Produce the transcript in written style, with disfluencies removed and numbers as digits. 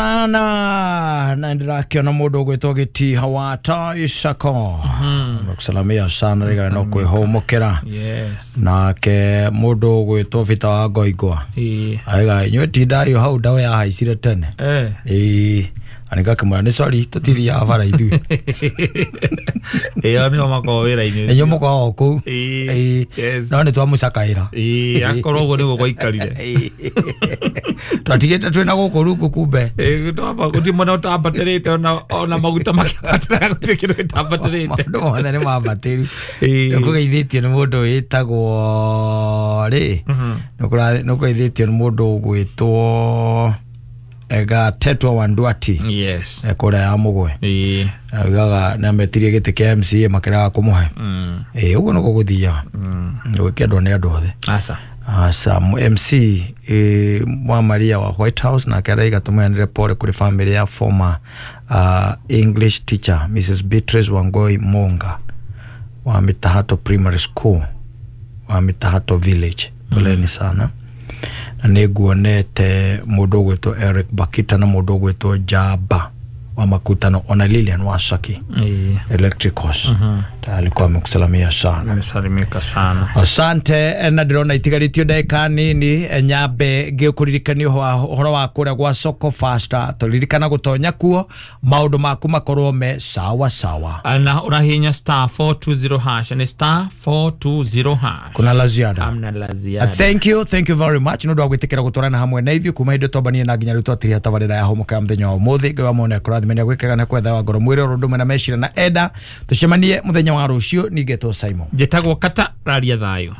Sana na ndĩrakĩona mũndũ ũgwĩtwo Gĩtiha wa Taisako, nakusalamia sana rĩga no kwĩhũmũkĩra. Nake mũndũ ũgwĩtwo Bita wa Ngoingwa aiga inyuĩ tindayo hau ndawa yahaicire tene. Ĩĩ, na nĩngakĩmwĩra nĩ sorry, tũtithiaga bara ithuĩ. Ĩyo nĩo makoragwo wĩra-inĩ. Inyuĩ mũkoragwo kũu. Ĩĩ, yes. No nĩ twamũcakaĩra. Ĩĩ, akorwo ũguo nĩguo gwaikarire. Twatigĩte twĩna gũkũ rungu kumbe. Ĩĩ, gũtirĩ mwena ũtambatĩrĩte, ona maguta makĩambatĩraga, gũtirĩ kĩndũ gĩtambatĩrĩte. Maũndũ mothe nĩ mambatĩru. Ĩĩ. Nĩkũgeithĩtio nĩ mũndũ wĩtagwo rĩ, nĩkũgeithĩtio nĩ mũndũ ũgwĩtwo Gatetwa wa Ndwati. Kũrĩa ya Mũgwe. Augaga nĩ ametirie gĩtĩ kĩa MCA makĩrega kũmũhe. Ĩĩ, ũguo nĩguo gũthiaga, gwĩkendwo nĩ andũ othe. Aca. Aca MC wa Maria wa White House nake araiga tũmeanĩre pole kũrĩ family ya former English teacher Mrs Beatrice Wangoi Monga wa Mitahato Primary School wa Mitahato Village, poleni sana. Na nĩ nguonete mũndũ ũgwĩtwo Eric Bakita na mũndũ ũgwĩtwo Jaba wa Makutano, ona Lilian wa Saki Electricals ta alikuwa amekusalamia sana. Amesalimika sana. Asante. Na ndĩrona itigarĩtio ndagĩka nini, nyambe ngĩkũririkania ũhoro wa kũrĩa gwa Soko Fasta, tũririkana gũtonya kuo maũndũ maku makorwo me sawa sawa. Na ũrahihinya *420#, nĩ *420#. Kuna la ziada? Hamna la ziada. Thank you, thank you very much nĩ ũndũ wa gwĩtĩkĩra gũtwarana hamwe na ithuĩ kuma hĩndĩ twambanie na nginya rĩu twatiria tabarĩra ya Hũmũka ya mũthenya wa ũmũthĩ. Ngai wa mone akũrathime nĩ agwĩkaga na kwetha wa ngoro mwĩrĩ oro ũndũ ũmwe na meciria na enda. Tũcemanie mũthenya wa rũciũ. Ningĩtwo Simon. Njĩtagwo Kata Raria, thayũ.